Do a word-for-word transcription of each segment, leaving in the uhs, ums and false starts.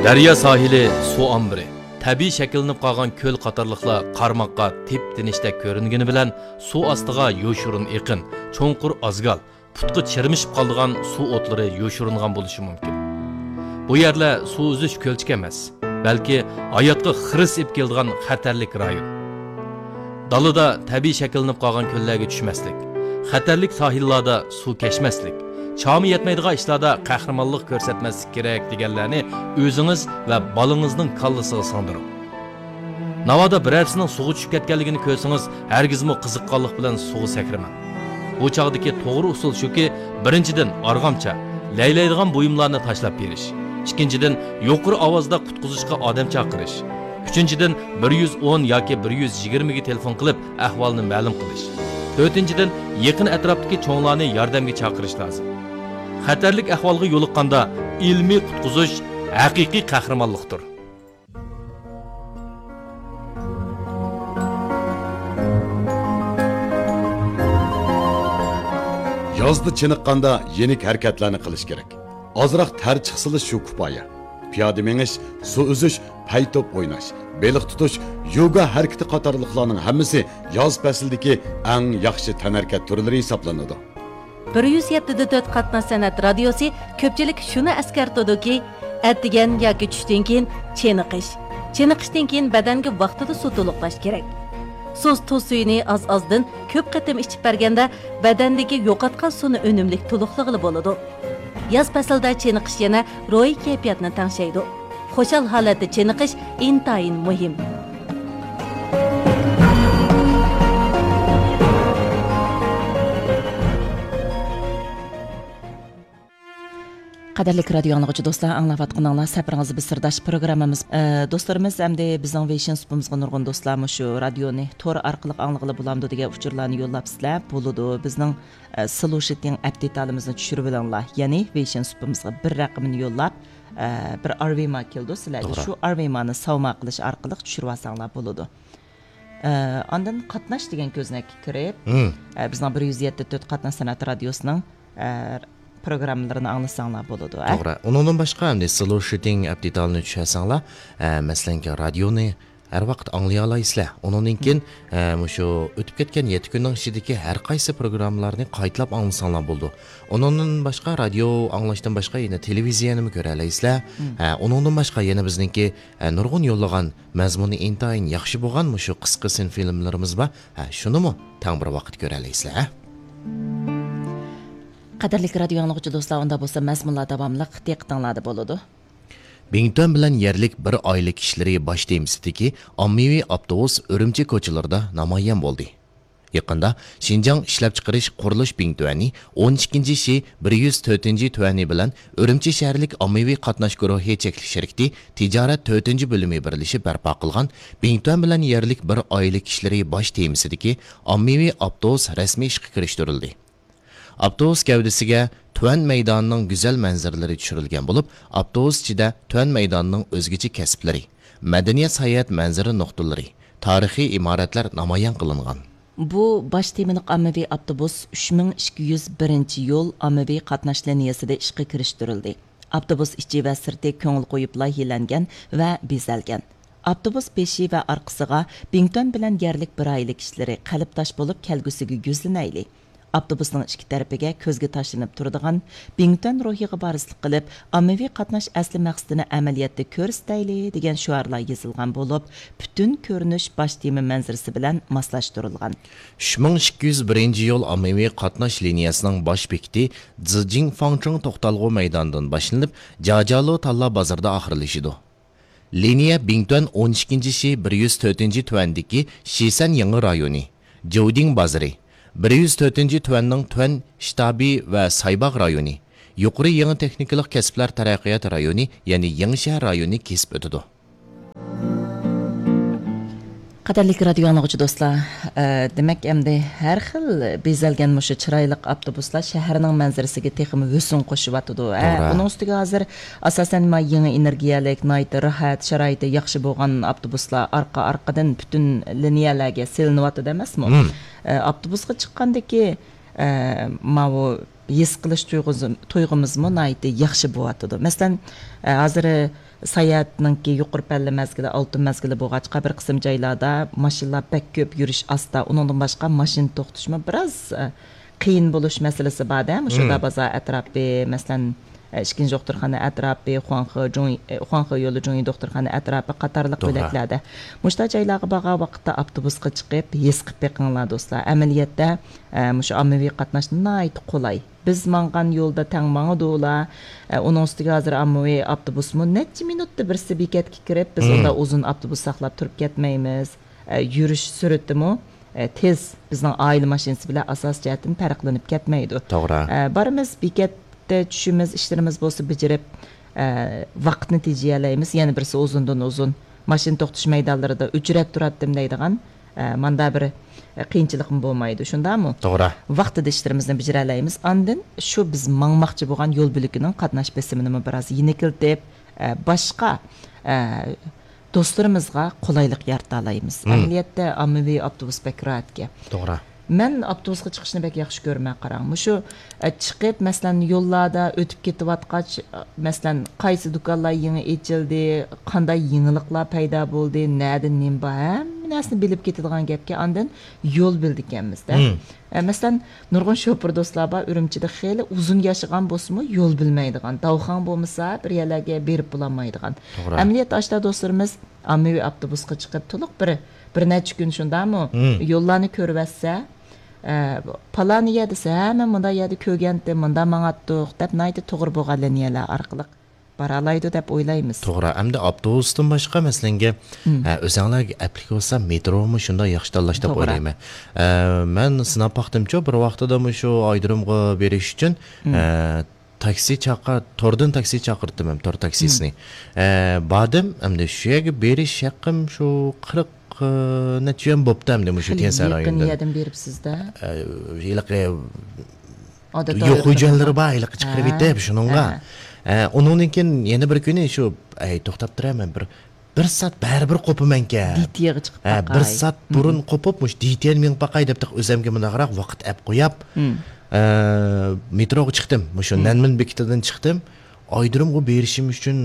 دەريا ساھىلى، سۇ ئامبىرى، تەبىئىي شەكىللىنىپ قالغان كۆل قاتارلىقلار قارىماققا تىپ-تىنچتەك كۆرۈنگىنى بىلەن، سۇ ئاستىغا يوشۇرۇن ئېقىن، چوڭقۇر ئازگال، پۇتقا چىرمىشىپ قالىدىغان سۇ ئوتلىرى يوشۇرۇنغان بولۇشى مۇمكىن. بۇ يەرلەر سۇ ئۈزۈش كۆلچىكى ئەمەس، بەلكى ھاياتقا خىرىس ئېلىپ كېلىدىغان خەتەرلىك رايون. دالىدا تەبىئىي شەكىللىنىپ قالغان كۆللەرگە چۈشمەسلىك، خەتەرلىك ساھىللاردا سۇ كەچمەسلىك، چامى يەتمەيدىغان ئىشلاردا قەھرىمانلىق كۆرسەتمەسلىك كېرەك دېگەنلەرنى ئۆزىڭىز ۋە بالىڭىزنىڭ كاللىسىغا سىڭدۈرۈڭ. ناۋادا بىرەرسىنىڭ سۇغا چۈشۈپ كەتكەنلىكىنى كۆرسىڭىز، ھەرگىزمۇ قىزىققانلىق بىلەن سۇغا سەكرىمەڭ. بۇ چاغدىكى توغرا ئۇسۇل شۇكى، بىرىنچىدىن، ئارغامچا، لەيلەيدىغان بۇيۇملارنى تاشلاپ بېرىش. ئىككىنچىدىن، يۇقىرى ئاۋازدا قۇتقۇزۇشقا ئادەم چاقىرىش. ئۈچىنچىدىن، بىر يۈز ئون ياكى بىر يۈز يىگىرمىگە تېلېفون قىلىپ، ئەھۋالنى مەلۇم قىلىش. تۆتىنچىدىن، يېقىن ئەتراپتىكى چوڭلارنى ياردەمگە چاقىرىش لازىم. خەتەرلىك ئەھۋالغا يولۇققاندا، ئىلمىي قۇتقۇزۇش ھەقىقىي قەھرىمانلىقتۇر. يازدا چېنىققاندا يېنىك ھەرىكەتلەرنى قىلىش كېرەك. ئازراق تەر چىقسىلا شۇ كۇپايە. پىيادە مېڭىش، سۇ ئۈزۈش، پەي توپ ئويناش، بېلىق تۇتۇش، يوگا ھەرىكىتى قاتارلىقلارنىڭ ھەممىسى ياز پەسلىدىكى ئەڭ ياخشى تەنھەرىكەت تۈرلىرى ھېسابلىنىدۇ. بىر يۈز يەتتە دە تۆت قاتناش سەنئەت رادىيوسى كۆپچىلىك شۇنى ئەسكەرتىدۇكى، ئەتىگەن ياكى چۈشتىن كېيىن چېنىقىش، چېنىقىشتىن كېيىن بەدەنگە ۋاقتىدا سۇ تولۇقلاش كېرەك. سۇس تۇز سۈيىنى ئاز-ئازدىن كۆپ قېتىم ئىچىپ بەرگەندە، بەدەندىكى يوقاتقان سۇنى ئۈنۈملۈك تولۇقلىغىلى بولىدۇ. ياز پەسلىدە چېنىقىش يەنە روھىي كەيپىياتنى تەڭشەيدۇ. خۇشال ھالەتتە چېنىقىش ئىنتايىن مۇھىم. قەدىرلىك رادىيو ئاڭلىغۇچى دوستلار، ئاڭلاۋاتقىنىڭلار سەپىرىڭىز بىر سىرداش پروگراممىمىز. ئە، دوستلىرىمىز، ئەمدى بىزنىڭ ۋېيشىن سۇپىمىزغا نۇرغۇن دوستلار مۇشۇ رادىيونى تور ئارقىلىق ئاڭلىغىلى بولامدۇ دېگەن ئۇچۇرلارنى يوللاپ سىلەر بولىدۇ. بىزنىڭ، ئە، سلوشىتىڭ ئەپ دېتالىمىزنى چۈشۈرۈۋېلىڭلار. يەنى ۋېيشىن سۇپىمىزغا بىر رەقىمىنى يوللاپ، ئە، بىر ئارۋېما كېلىدۇ سىلەرگە. توغرا. شۇ ئارۋېمانى ساۋما قىلىش ئارقىلىق چۈشۈرۈۋالساڭلار بولىدۇ. ئە، ئاندىن قاتناش دېگەن كۆزنەككە كىرىپ، مم. ئە، بىزنىڭ بىر يۈز يەتتە تۆت قاتناش سەنئەت رادىيوسىنىڭ، ئە، پروگراممىلىرىنى ئاڭلىساڭلار بولىدۇ، ئە؟ توغرا. ئۇنىڭدىن باشقا، ئەمدى سلوشىتىڭ ئەپ دېتالىنى چۈشۈرسەڭلار، ئە، مەسىلەنكى، رادىيونى ھەر ۋاقىت ئاڭلىيالايسىلەر. ئۇنىڭدىن كېيىن، مم. ئە، مۇشۇ ئۆتۈپ كەتكەن يەتتە كۈننىڭ ئىچىدىكى ھەر قايسى پروگراممىلارنى قايتىلاپ ئاڭلىساڭلار بولىدۇ. ئۇنىڭدىن باشقا، رادىيو ئاڭلاشتىن باشقا يەنە تېلېۋىزىيەنىمۇ كۆرەلەيسىلەر. مم. ئە، ئۇنىڭدىن باشقا يەنە بىزنىڭكى، ئە، نۇرغۇن يوللىغان مەزمۇنى ئىنتايىن ياخشى بولغان مۇشۇ قىسقا سىن فىلىملىرىمىز بار. ھە، شۇنىمۇ تەڭ بىر ۋاقىت كۆرەلەيسىلەر، ھە؟ قەدىرلىك رادىيو ئاڭلىغۇچى دوستلار، ئۇندا بولسا مەزمۇنلار داۋاملىق دىققىتىڭلاردا بولىدۇ. بىڭتۈەن بىلەن يەرلىك بىر ئائىلە كىشىلىرى باش تېمىسىدىكى ئاممىۋى ئاپتوبۇس ئۈرۈمچى كوچىلىرىدا نامايان بولدى. يېقىندا شىنجاڭ ئىشلەپچىقىرىش قۇرۇلۇش بىڭتۈەنى ئون ئىككىنچى شى بىر يۈز تۆتىنچى تۈەنى بىلەن ئۈرۈمچى شەھەرلىك ئاممىۋى قاتناش گۇرۇھى چەكلىك شىركىتى تىجارەت تۆتىنچى بۆلۈمى بىرلىشىپ بەرپا قىلغان بىڭتۈەن بىلەن يەرلىك بىر ئائىلە كىشىلىرى باش تېمىسىدىكى ئاممىۋى ئاپتوبۇس رەسمىي ئىشقا كىرىشتۈرۈلدى. ئاپتوبۇس گەۋدىسىگە تۈەن مەيدانىنىڭ گۈزەل مەنزىرىلىرى چۈشۈرۈلگەن بولۇپ، ئاپتوبۇس ئىچىدە تۈەن مەيدانىنىڭ ئۆزگىچە كەسىپلىرى، مەدەنىيەت ساياھەت مەنزىرە نۇقتىلىرى، تارىخىي ئىمارەتلەر نامايان قىلىنغان. بۇ باش تېمىلىق ئاممىۋى ئاپتوبۇس ئۈچ مىڭ ئىككى يۈز بىرىنچى يول ئاممىۋى قاتناش لىنىيەسىدە ئىشقا كىرىشتۈرۈلدى. ئاپتوبۇس ئىچى ۋە سىرتى كۆڭۈل قويۇپ لايىھەلەنگەن ۋە بېزەلگەن. ئاپتوبۇس بېشى ۋە ئارقىسىغا بىڭتۈەن بىلەن يەرلىك بىر ئائىلە كىشىلىرى قەلبداش بولۇپ كەلگۈسىگە يۈزلىنەيلى. ئاپتوبۇسنىڭ ئىككى تەرىپىگە كۆزگە تاشلىنىپ تۇرىدىغان بىڭتۈەن روھىغا ۋارىسلىق قىلىپ، ئاممىۋى قاتناش ئەسلى مەقسىتىنى ئەمەلىيەتتە كۆرسىتەيلى دېگەن شوئارلار يېزىلغان بولۇپ، پۈتۈن كۆرۈنۈش باش تېما مەنزىرىسى بىلەن ماسلاشتۇرۇلغان. ئۈچ مىڭ ئىككى يۈز بىرىنچى يول ئاممىۋى قاتناش لىنىيەسىنىڭ باش بېكىتى زىجىڭ فاڭچىڭ توختالغۇ مەيدانىدىن باشلىنىپ، جاجالۇ تاللا بازىرىدا ئاخىرلىشىدۇ. لىنىيە بىڭتۈەن ئون ئىككىنچى شى بىر يۈز تۆتىنچى تۈەندىكى شىسەن يېڭى رايونى، جوۋدىڭ بازىرى، بىر يۈز تۆتىنچى تۈەننىڭ تۈەن شتابى ۋە سايباغ رايونى، يۇقىرى يېڭى تېخنىكىلىق كەسىپلەر تەرەققىيات رايونى، يەنى يېڭىشەھەر رايونىنى كېسىپ ئۆتىدۇ. قەدىرلىك رادىيو ئاڭلىغۇچى دوستلار، ئە، دېمەك، ئەمدى ھەر خىل بېزەلگەن مۇشۇ چىرايلىق ئاپتوبۇسلار شەھەرنىڭ مەنزىرىسىگە تېخىمۇ ھۆسن قوشۇۋاتىدۇ، ھە؟ توغرا. ئۇنىڭ ئۈستىگە ھازىر، ئاساسەن، ما يېڭى ئېنېرگىيەلىك، ناھايىتى راھەت، شارائىتى ياخشى بولغان ئاپتوبۇسلار ئارقا-ئارقىدىن پۈتۈن لىنىيەلەرگە سېلىنىۋاتىدۇ ئەمەسمۇ؟ مم. ئە، ئاپتوبۇسقا چىققاندىكى، ئە، ماۋۇ ھېس قىلىش تۇيغۇزى-، تۇيغۇمىزمۇ ناھايىتى ياخشى بولۇۋاتىدۇ. مەسىلەن، ئە، ھازىر ساياھەتنىڭكى يۇقىرى پەللە مەزگىلى، ئالتۇن مەزگىلى بولغاچقا، بىر قىسىم جايلاردا ماشىنىلار بەك كۆپ، يۈرۈش ئاستا. ئۇنىڭدىن باشقا، ماشىنا توختىتىشمۇ بىراز، ئە، قىيىن بولۇش مەسىلىسى بار-دە، مۇشۇ مم. بازار ئەتراپى، مەسىلەن، ئە، ئىككىنچى دوختۇرخانا ئەتراپى، خۇاڭخې جۇڭ-، ئە، خۇاڭخې يولى جۇڭيى دوختۇرخانا ئەتراپى قاتارلىق توغرا. بۆلەكلەردە. مۇشۇنداق جايلارغا بارغان ۋاقىتتا ئاپتوبۇسقا چىقىپ، ھېس قىلىپ بېقىڭلار، دوستلار. ئەمەلىيەتتە، ئە، مۇشۇ ئاممىۋى قاتناش ناھايىتى قولاي. بىز ماڭغان يولدا تەڭ ماڭىدۇ ئۇلار. ئە، ئۇنىڭ ئۈستىگە ھازىر ئاممىۋى ئاپتوبۇسمۇ نەچچە مىنۇتتا بىرسى بېكەتكە كىرىپ، بىز مم. ئۇنداق ئۇزۇن ئاپتوبۇس ساقلاپ تۇرۇپ كەتمەيمىز. ئە، يۈرۈش سۈرئىتىمۇ، ئە، تېز، بىزنىڭ ئائىلە ماشىنىسى بىلەن ئاساسىي جەھەتتىن پەرقلىنىپ كەتمەيدۇ. توغرا. ئە، بارىمىز، بېكەتتە چۈشىمىز، ئىشلىرىمىز بولسا بېجىرىپ، ئە، ۋاقىتنى تېجىيەلەيمىز. يەنە بىرسى ئۇزۇندىن ئۇزۇن ماشىنا توختىتىش مەيدانلىرىدا ئۆچرەت تۇراتتىم دەيدىغان، ئە، ماندا بىر، ئە، قىيىنچىلىقمۇ بولمايدۇ، شۇنداقمۇ؟ توغرا. ۋاقتىدا ئىشلىرىمىزنى بېجىرەلەيمىز. ئاندىن شۇ بىز ماڭماقچى بولغان يول بۆلىكىنىڭ قاتناش بېسىمىنىمۇ بىراز يېنىكلىتىپ، ئە، باشقا، ئە، دوستلىرىمىزغا قولايلىق يارىتالايمىز. مم. ئەمەلىيەتتە، ئاممىۋى ئاپتوبۇس بەك راھەتكەن. توغرا. مەن ئاپتوبۇسقا چىقىشنى بەك ياخشى كۆرىمەن، قاراڭ. مۇشۇ، ئە، چىقىپ، مەسىلەن، يوللاردا ئۆتۈپ كېتىۋاتقاچ، ئە، مەسىلەن، قايسى دۇكانلار يېڭى ئېچىلدى، قانداق يېڭىلىقلار پەيدا بولدى، نەدە نېمە بار، ھەممە نەرسىنى بىلىپ كېتىدىغان گەپكە ئاندىن يول بىلىدىكەنمىز-دە. مم. ئە، مەسىلەن، نۇرغۇن شوپۇر دوستلار بار، ئۈرۈمچىدە خېلى ئۇزۇن ياشىغان بولسىمۇ، يول بىلمەيدىغان، داۋخاڭ بولمىسا، بىر يەرلەرگە بېرىپ بولالمايدىغان. توغرا. ئەمەلىيەتتە، ئاشتا دوستلىرىمىز ئاممىۋى ئاپتوبۇسقا چىقىپ، تولۇق بىر، بىر نەچچە كۈن شۇنداقمۇ؟ مم. يوللارنى كۆرۈۋەتسە، ئە، پالان يەر دېسە، ھە، مەن مۇنداق يەردە كۆرگەنتىم، مۇنداق ماڭاتتۇق، دەپ ناھايىتى توغرا بولغان لىنىيەلەر ئارقىلىق بارالايدۇ دەپ ئويلايمىز. توغرا. ئەمدى ئاپتوبۇستىن باشقا، مەسىلەنگە، مم. ئە، ئۆزەڭلارگە ئەپلىك بولسا، مېترومۇ شۇنداق ياخشى تاللاش دەپ توغرا. ئويلايمەن. ئە، مەن سىناپ باقتىمچۇ، بىر ۋاقتىدا مۇشۇ ئايرودرومغا بېرىش ئۈچۈن، مم. ئە، تاكسى چاقىر-، توردىن تاكسى چاقىرتتىم ھەم، تور تاكسىسىنى. مم. ئە، باردىم، ئەمدى شۇ يەرگە بېرىش ھەققىم شۇ قىرىق، ئە، نەچچە يۈەن بوپتۇ ئەمدى مۇشۇ خېلى تيەنسان يېقىن رايونىدىن. يەردىن بېرىپسىز-دە. ئە، ھېلىقى ئادەتتە يوق ئايرودروم خوجانلىرى بار، ھېلىقى چىقىرىپ ھە. يېتىپ شۇنىڭغا. ھە. ئە، ئۇنىڭدىن كېيىن يەنە بىر كۈنى شۇ، ئەي، توختاپ تۇرە، مەن بىر، بىر سائەت بەرىبىر قوپىمەنكەن. دىتيەگە چىقىپ ھە، بىر باقاي. سائەت بۇرۇن مم. قوپۇپ، مۇشۇ دىتيەنى مېڭىپ باقاي دەپ، ئۆزەمگە مۇنداقراق ۋاقىت ئەپ قوياپ، مم. ئە، مېتروغا چىقتىم. مۇشۇ مم. نەنمىن بېكىتىدىن چىقتىم. ئايرودرومغا بېرىشىم ئۈچۈن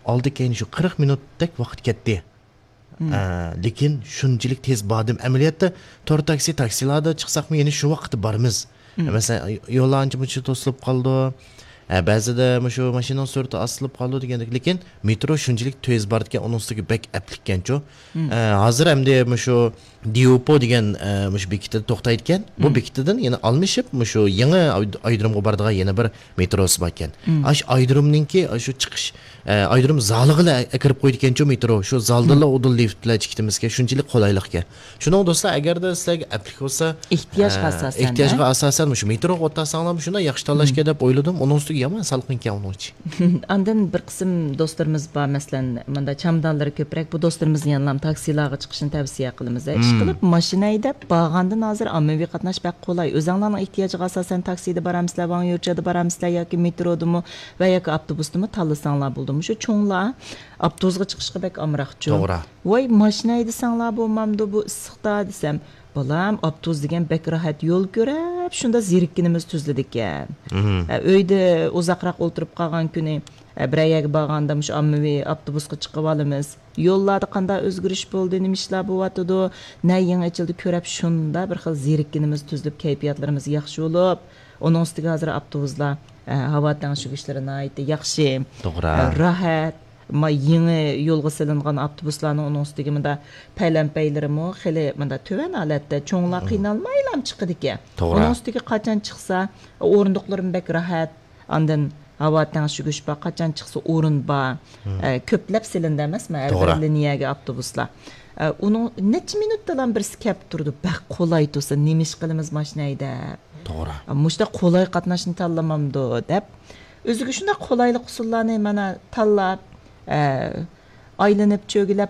ئالدى كەينى شۇ قىرىق مىنۇتتەك ۋاقىت كەتتى. مم. ئە، لېكىن شۇنچىلىك تېز باردىم. ئەمەلىيەتتە تور تاكسى، تاكسىلاردا چىقساقمۇ يەنە شۇ ۋاقىتتا بارىمىز. مم. مەسىلەن، يوللار ئانچە-مۇنچە توسۇلۇپ قالىدۇ. ئە، بەزىدە مۇشۇ ماشىنىنىڭ سۈرئىتى ئاستىلىپ قالىدۇ دېگەندەك. لېكىن مېترو شۇنچىلىك تېز بارىدىكەن، ئۇنىڭ ئۈستىگە بەك ئەپلىككەنچۇ. مم. ئە، ھازىر ئەمدى مۇشۇ ديۇپو دېگەن، ئە، مۇشۇ بېكىتىدە توختايدىكەن. بۇ مم. بېكىتىدىن يەنە ئالمىشىپ، مۇشۇ يېڭى ئاي-، ئايرودرومغا بارىدىغان يەنە بىر مېتروسى باركەن. مم. ئاشۇ ئايرودرومنىڭكى، ئاشۇ چىقىش، ئە، ئايرودروم زالىغىلا ئەكىرىپ قويىدىكەنچۇ مېترو. شۇ زالدىنلا مم. ئۇدۇل لىفتلار چىقىتىمىزكەن. شۇنچىلىك قولايلىقكەن. شۇنىڭ دوستلار، ئەگەردە سىلەرگە ئەپلىك بولسا، ئېھتىياجغا ئە، ئاساسەن، ئېھتىياجغا ھە؟ ئاساسەن مۇشۇ مېتروغا ئولتۇرساڭلار، شۇنداق ياخشى تاللاشكەن مم. دەپ ئويلىدىم. ئۇنىڭ ئۈستىگە يامان سالقىنكەن ئۇنىڭ ئىچى. ئاندىن بىر قىسىم دوستلىرىمىز بار، مەسىلەن، مۇنداق چامادانلىرى كۆپرەك. بۇ دوستلىرىمىزنى يەنىلا تاكسىلارغا چىقىشنى تەۋسىيە قىلىمىز. مم. ئىشقىلىپ، ماشىنا ھەيدەپ بارغاندىن ھازىر ئاممىۋى قاتناش بەك قولاي. ئۆزەڭلارنىڭ ئېھتىياجىغا ئاساسەن تاكسىدا بارامسىلەر، ۋاڭيۇچيادا بارامسىلەر ياكى مېترودىمۇ ۋە ياكى ئاپتوبۇستىمۇ تاللىساڭلار بولىدۇ. مۇشۇ چوڭلار ئاپتوبۇسقا چىقىشقا بەك ئامراقچۇ. توغرا. ۋاي، ماشىنا ھەيدىسەڭلار بولمامدۇ بۇ ئىسسىقتا دېسەم، بالام، ئاپتوبۇس دېگەن بەك راھەت يول كۆرۈپ، شۇنداق زېرىككىنىمىز تۈزۈلىدىكەن. مم. ئە، ئۆيدە ئۇزاقراق ئولتۇرۇپ قالغان كۈنى، ئە، بىرەر يەرگە بارغاندا مۇشۇ ئاممىۋى ئاپتوبۇسقا چىقىۋالىمىز. يوللاردا قانداق ئۆزگىرىش بولدى، نېمە ئىشلار بولۇۋاتىدۇ، نە يېڭى ئېچىلدى كۆرۈپ، شۇنداق بىر خىل زېرىككىنىمىز تۈزۈلۈپ، كەيپىياتلىرىمىز ياخشى بولۇپ، ئۇنىڭ ئۈستىگە ھازىر ئاپتوبۇسلار، ئە، ھاۋا تەڭشىگۈچلىرى ناھايىتى ياخشى، توغرا. ئە، راھەت. ما يېڭى يولغا سېلىنغان ئاپتوبۇسلارنىڭ ئۇنىڭ ئۈستىگە مۇنداق پەيلەنپەيلىرىمۇ خېلى مۇنداق تۆۋەن ھالەتتە، چوڭلار مم. قىينالمايلا چىقىدىكەن. توغرا. ئۇنىڭ ئۈستىگە قاچان چىقسا، ئورۇندۇقلىرىمۇ بەك راھەت. ئاندىن ھاۋا تەڭشىگۈچ بار، قاچان چىقسا ئورۇن بار. مم. ئە، كۆپلەپ سېلىندى ئەمەسمۇ ھەر توغرا. بىر لىنىيەگە ئاپتوبۇسلار. ئە، ئۇنىڭ نەچچە مىنۇتتىلا بىرسى كەپ تۇرىدۇ. بەك قولاي تۇرسا، نېمە ئىش قىلىمىز ماشىنا ھەيدەپ؟ توغرا. ئە، مۇشۇنداق قولاي قاتناشنى تاللىمامدۇ دەپ، ئۆزىگە شۇنداق قولايلىق ئۇسۇللارنى مانا تاللاپ، ئە، ئايلىنىپ چۆگىلەپ